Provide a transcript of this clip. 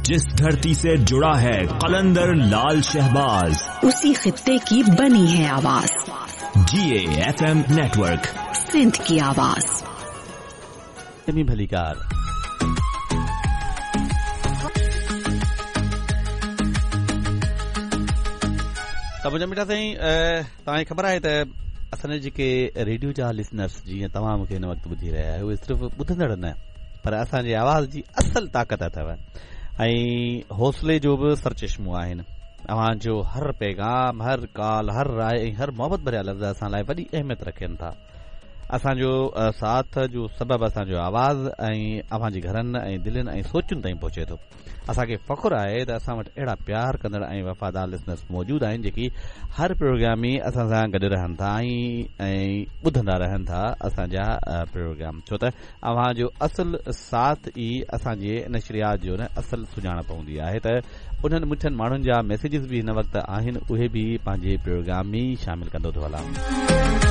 जिस धरती से जुड़ा है कलंदर लाल शहबाज, उसी खित्ते की बनी है आवाज। जीए एफएम नेटवर्क, सिंध की आवाज। भलीकार। त मुंहिंजा मिठा साईं, तव्हांखे ख़बर आहे त असांजा जेके रेडियो जा लिसनर्स जीअं तव्हां मूंखे हिन वक़्तु ॿुधी रहिया आहियो, उहे सिर्फ़ु ॿुधंदड़ न पर असांजे आवाज़ जी असल ताक़त अथव ऐं हौसले जो बि सरचश्मो आहिनि। अव्हां जो हर पैगाम, हर कॉल, हर राय ऐं हर मोहबत भरिया लफ़्ज़ असां लाइ वॾी अहमियत रखनि था। असांजो साथ जो सबबु असांजो आवाज़ ऐं अव्हांजे घरनि ऐं दिलनि ऐं सोचुनि ताईं पहुचे थो। असांखे फ़ख़्रु आहे त असां वटि अहिड़ा प्यार कंदड़ ऐं वफ़ादार लिसनर्स मौजूदु आहिनि जेकी हर प्रोग्राम में असां सां गॾु रहनि था ऐं ॿुधंदा रहनि था असांजा प्रोग्राम, छो त अव्हां जो असल साथ ई असांजे नशरियात जो न असल सुञाणप हूंदी आहे। त उन्हनि मिठनि माण्हुनि जा मैसेजिस बि हिन वक़्तु आहिनि, उहे बि पंहिंजे प्रोग्राम में शामिल कंदो थो हलां।